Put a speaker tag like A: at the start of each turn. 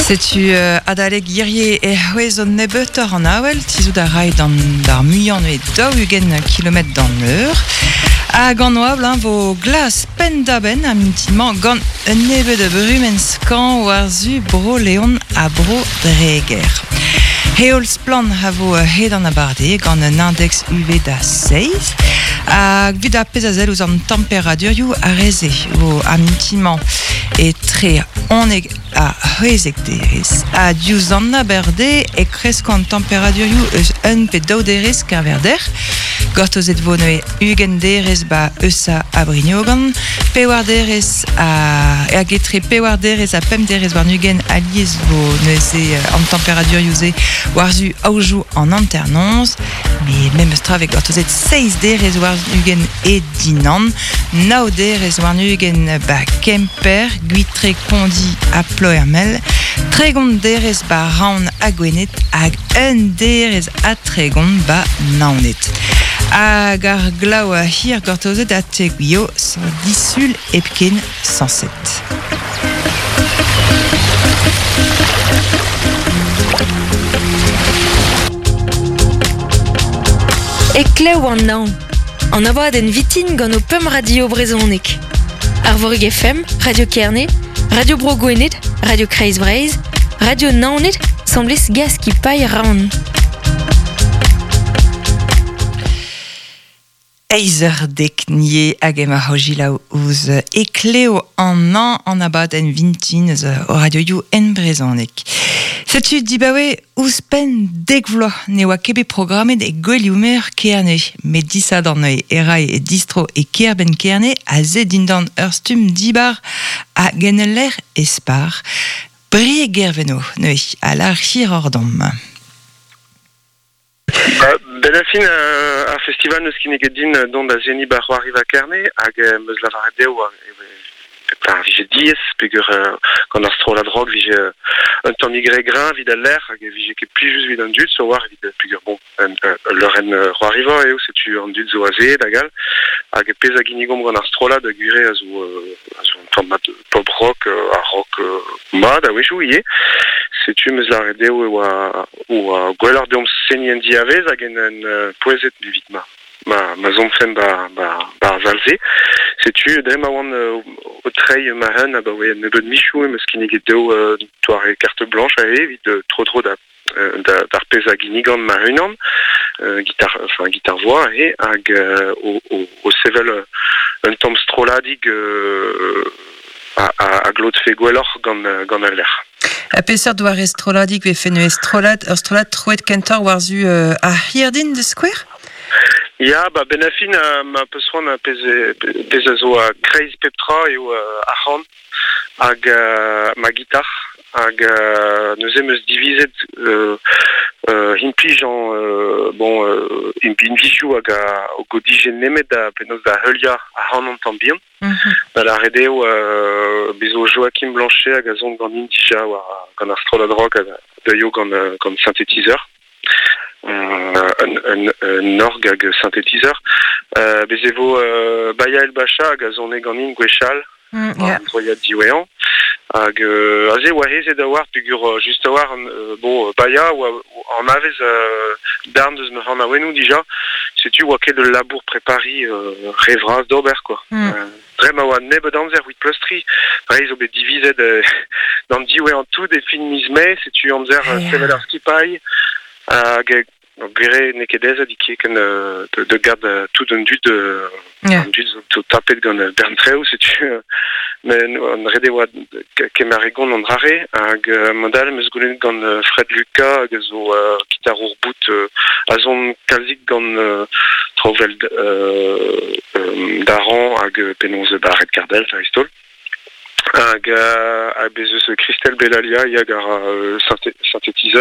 A: Setu adalek hirie e c'hwezho nebeutoc'h an avel, tizhout a ray d'an d'ar muiañ neuze 40 kilometr d'an eur. Hag an oabl hein, vo glas penn-da-benn ar mintin-mañ gant un nebeud a brumenn skañv war-zu Bro-Leon ha Bro-Dreger. Heol splann a vo hed an abardaez gant un index UV da seizh. Hag evit ar pezh a sell ouzh an temperadurioù ar re-se vo ar mintin-mañ etre 11 ha c'hwezek derez. Ha diouzh an aberde e kresko an temperadurioù eus un pe daou derez keñver dec'h. Gortozet vo neuze 20 derez ba Eusa ha Brignogan, pewar derez ha hag etre pewar derez ha pemp derez warn-ugent alies vo neuze an temperadurioù-se war-zu aojoù an hanternoz. Met memes tra vez gortozet seizh derez warn-ugent e Dinan, nav derez warn-ugent ba Kemper, Gwitreg, Pondi ha Ploermel, 30 derez ba Raon ha Gwened hag un derez ha 30 ba Naoned. Hag ar glav hir gortozet a teguio disul hepken sañset.
B: Heklev an hañv. An abadenn vitin gant ho pemp radio brezhonek. Arvorig FM, Radio Kerne, Radio Bro Gwened, Radio Kreiz Breizh, Radio Naoned, semblez Gaskipailh Raon.
A: Eizh eur dek nie hag emañ ho selaou ouzh Heklev an hañv an abadenn vintin eus o radioioù en brezhoneg. Setu dibaoe ouzhpenn dek vloaz ne oa ket bet programmet e Gouelioù-Meur Kerne, met disadorn e ray e distro e kêr-benn Kerne aze dindan ur stumm dibar hag en ul lec'h espar. Brieg Gerveno neuze a lâr hiroc'h deomp.
C: Benn ar fin ar festival n'eus kinniget din dont da seniñ 'ba C'hoariva Kerne hag 'm eus lavaret dezho e vije diaes peogwir gant ar strollad rock 'vije un tammig re greñv evit al lec'h hag e vije ket plijus evit an dud sur 'walc'h evit peogwir bon ul leurenn c'hoariva eo setu an dud zo azeet hag all hag pezh a ginnigomp gant ar strollad gwir eo a zo a zo un tamm mat pop rock ha rock mat a-wechoù ivez setu 'm eus lavaret dezho e oa oa gwelloc'h deomp seniñ en diavez hag en en pouezet evit ma ma ma soñjfemp ba ba ba ar sal-se. Setu dre ma oan o treiñ ma hun abaoe un nebeud michoù em eus kinniget dezho un doare carte blanche aze evit tro-dro da d'ar pezh a ginnigan ma-unan, gitar enfin gitar-voix aze hag o, o, o sevel un tamm strolladig a, a, a glotfe gwelloc'h gant gant al lec'h.
A: Ha peseurt doare strolladig vefe neuze strollad, ur strollad troet kentoc'h war-zu ar Hirdin da skouer?
C: Ya, ba benn ar fin, ma peus c'hoant pezh, pezh a zo kreiz pep tra eo ar c'han hag ma gitar. Hag neuze 'm eus divizet implijañ bon binvioù hag a o dije nemet da penaos da heuliañ ac'hanon tamm bihan. Da lâret eo bez zo Joachim Blanchet hag a son ganin dija war gant ar strollad rock hag a deuio gant gant synthétiseur. Un, un, un org hag synthétiseur. Bez e vo Baya El Bacha hag a sone ganin gwechall an troiad diwezhañ. Hag aze oa aezet a-walc'h peogwir just a-walc'h bon Baya oa anavez darn deus ma c'hanaouennoù dija. Setu oa ket ul labour prepariñ re vras d'ober quoi. Dre ma oa nebeut amzer evit pleustriñ, Breizh zo bet divizet d'an diwezhañ tout e fin miz Mae, setu amzer sevel ar skipailh hag Gwir eo n'eo ket aes ken da gad tout an dud an dud zo tapet gant bern treoù setu met an ret e oa kemer e gont an dra-re hag mod-all em eus goulennet gant Fred Lucas hag a zo gitarour bout a son kalzik gant traoù 'vel Daran hag penaos Barrett Cardell dreist-holl. Hag bez eus Christelle Bellalia hag a ra synthétiseur.